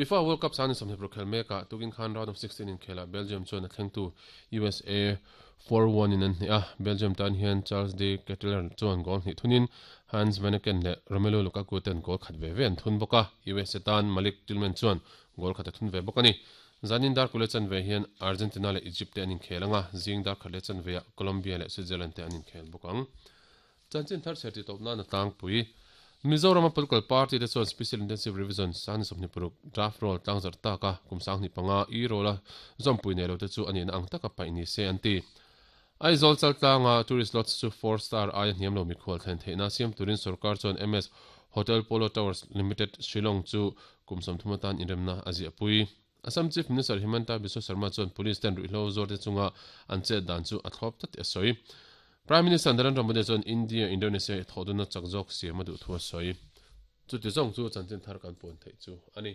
FIFA World Cup sang ni 26 khel mekah tukin khan round of 16 inkhelah Belgium chuan a thlengtu USA 4-1 in an hneh a, Belgium tan hian Charles De Ketelaere chuan goal hnih thunin Hans Vanaken leh Romelu Lukaku ten goal khat ve ve an thun bawk a, USA tan Malik Tillman chuan goal khat a thun ve bawk a ni. Zanin dar kule chanve hian Argentina leh Egypt te an inkhel ang a, zing dar khat leh chanveah Colombia leh Switzerland te an inkhel bawk ang. Chanchin thar chher titawp nan a tlangpui. Mizorama political party te chuan Special Intensive Revision sang ni 26 draft roll tlangzarh tak a, kum 25 i roll a zawmpui nei lo te chu a nihna ang taka paih ni se an ti. Aizawl chaltlanga tourist lodge chu four star aia hniam lo mikhual thlen theihna siam turin sorkar chuan MS Hotel Polo Towers Limited, Shillong chu kum 30 atan inremna a ziahpui. Assam Chief Minister Himanta Biswa Sarma chuan Police ten ruihhlo zawrte chunga an chet dan chu a thlawp tlat tih a sawi. Prime Minister Narendra Modi chuan India, Indonesia i thawhdunna chak zawk siam a duh thu a sawi. Chuti zawng chu chanchin thar kan puan theih chu a ni.